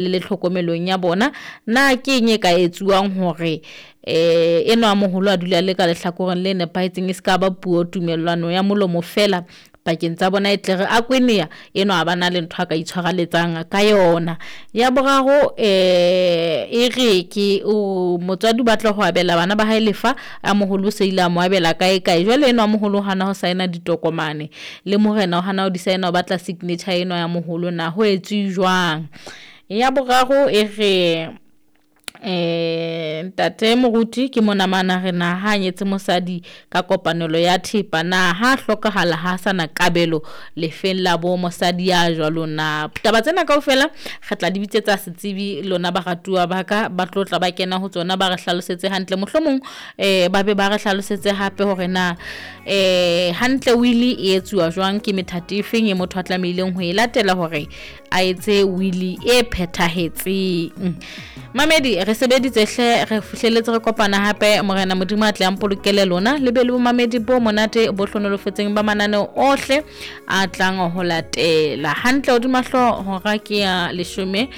Le tlhokomelong ya bona, na ke eng e ka etsuwang hore enwa moholo a dula le ka lehlakoreng le nepahetseng, e se ka ba puo tumellano ya molomo fela pakeng tsa bona, e tle re a kweneya enwa a ba na le ntho a ka itshwareletsang ka yona. Ya boraro, e re ke o motswadi o batla ho abela bana ba hae lefa, a moholo o se ile a mo abela kae kae, jwale enwa moholo hana ho saena ditokomane le morena o hana ho di saena, o batla signature enwa ya moholo, na ho etswe jwang? Ya boraro e re, ntate moruti ke mona mana re na ha nyetse mosadi ka kopanelo ya thepa, na ha hlokahala ha sana kabelo lefeng la bo mosadi ya jwalo na? Taba tsena kaofela re tla di bitsetsa setsebi lona baratuwa ba ka, ba tlo tla ba kena ho tsona, ba re hlalosetse hantle, mohlomong ba be ba re hlalosetse hape hore na hantle wili e etsuwa jwang, ke methati e feng e motho a tlamehileng ho e latela hore a etse wili e phethahetseng. Mamedi, re sebeditse hle, re fihlelletse, re kopana hape. Morena Modimo a tle a mpolokele lona le be le bomamedi bo monate bo hlonolofetseng ba mananeo ohle a tlang ho latela. Hantle hodima hlooho hora ke ya 12.